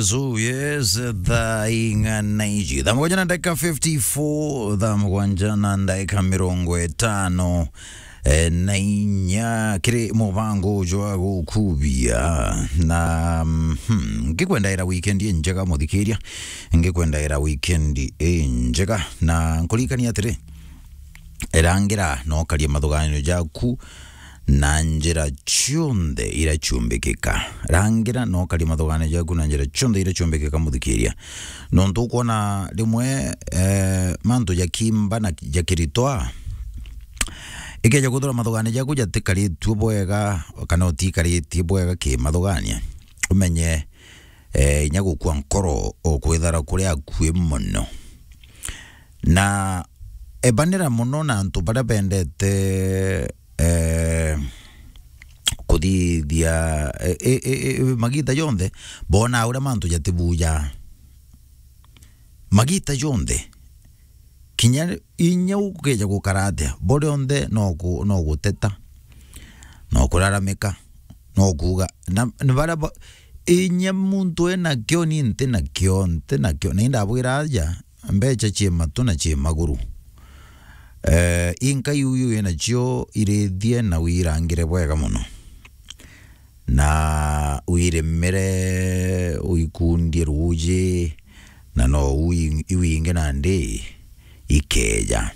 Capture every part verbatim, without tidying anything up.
So yes, thaa ing'ana iji? Thaa mugwanja na ndagika fifty-four, thaa mugwanja na ndagika mirongo itano, eh, na inya, kiri mubango uju wa gukubia. Na, mhm, ngikwendaira weekend injega, muthikiria. Ngikwendaira weekend injega. Na nkuririkania atiri, rangira na ukaria mathuganio jaku na njira cionthe iria ciumbikika. Rangira na ukaria mathuganio jaku na njira cionthe iria ciumbikika, muthikiria. Nontu ukwona rimwe, eh, mantu jakimba na jakiritwa, ikeja kwithirwa mathuganio jaku jatikaritue bwega, kana utikaritie bwega kimathugania, umenye, eh, inya gukua nkoro ukwithara kuri akui mono. Na ebanira mono na antu baria bendete, eh, kuthithia, eh, eh, eh, eh, magita jonthe, bona uria mantu jatibuja. Magita jonthe. Kinya inya ukeja gukara atia, bo rionthe no ku-, no guteta, no kuraramika, no kuuga. Na, na baria ba-, inya muntu enakio, ni nti nakio, nti nakio. Na indabwira aja, mbecha cie matu na cie maguru. Eh, inka iu, iu inacio irithie na wirangire bwega mono. Na wirimire, uikundie ruuji, na no ui-, iu ingi nandi ikeja.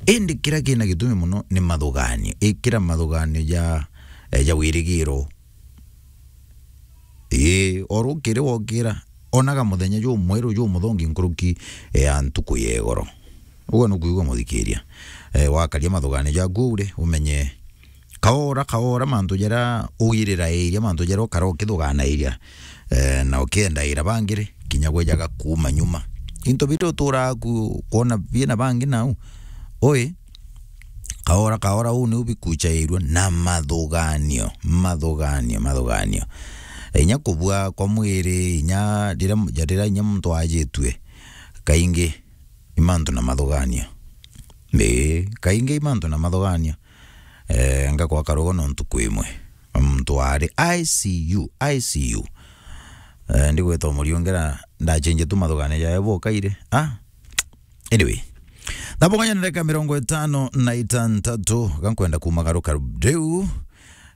Indi kiria kina gitumi mono ni mathuganio. Ikira mathuganio ja, eh, ja wirigiro. Ii, o rukiri wokira, onaga muthenya jumweru jumuthongi nkuruki ya ntuku ya igoro. Uguo nukwigua, muthikiria. Eh, wakaria mathuganio jaku uri, umenye kaora kaora mantu jaria ugirira iria, mantu jaria ukara ukithuganairia, eh, na ukiendaira bangi ri, kinya gwejaga kuuma nyuma. Into biria uturaga ku-, kwona biina bangi nau, ui, kaora kaora uu niu bikuchairua na mathuganio, mathuganio, mathuganio. Inya kubua kwa mwiri, inya riria, riria inya muntu ajitue, kaingi i mantu na mathuganio. Ii, kaingi i mantu na mathuganio. Eh, ngakwa karugo nontu kwi imwe. Muntu ari I C U, I C U. Eh, ndigweta umuriongera ndachenje tu mathuganio jae bokaire. Ah, anyway. Thaa mugwanja na ndagika mirongo itano na itantatu, gankwenda kumagaruka riu,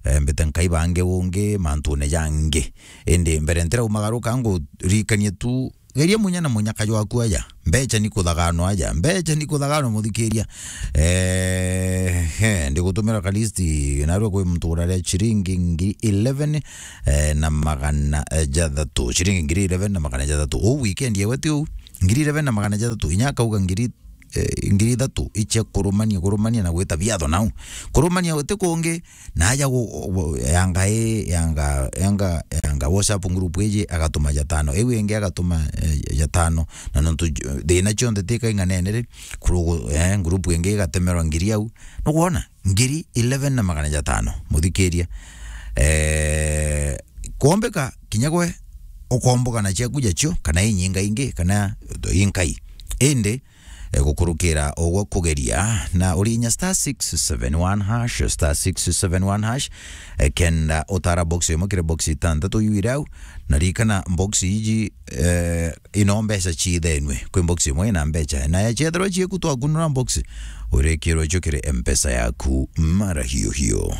eh, mbite nkaibange ungi mantune jangi. Indi mbere ntiraumagaruka, nguririkanie tu, geria munya na munyaka jwaku aja. Mbecha ni kuthaganwa aja. Mbecha ni kuthaganwa, muthikiria. Eh, he, ndigutumira ka list, narua kwi muntu uraria ciringi ngiri eleven, eh, na magana, eh, jathatu. Ciringi ngiri eleven na magana jathatu. Uu weekend yewe ti uu. Ngiri eleven na magana jathatu. Inya akauga ngiri, eh, ngiri ithatu icia kurumania, kurumania na gwita biatho nau. Kurumania uti kungi, na aja gu-, gu-, yanga i, yanga, yanga, yanga WhatsApp group iji agatuma jatano. Iu ingi agatuma, eh, jatano. Na nontu j-, thina cionthe ti kaing'anene ri, kurugu-, eh, group ingi igatemerwa ngiri au. Nukwona? Ngiri eleven na magana jatano. Muthikiria. Eh, kwombeka kinya gwe ukomboka na ciaku jacio, kana inyinga ingi, kana inkai. Indi, eh, gukurukira ugwo kugeria, na urinya star six seven one hash, star six seven one hash, eh, kenda utara box imwe kiri box itantatu iu iri au, na ririkana box iji, eh, ino mbeca ciithenue. Kwi box imwe ina mbeca, na ciethirwa cieku twakunura box, urikirwe cio kiri M-Pesa yaku mara hiyo hiyo.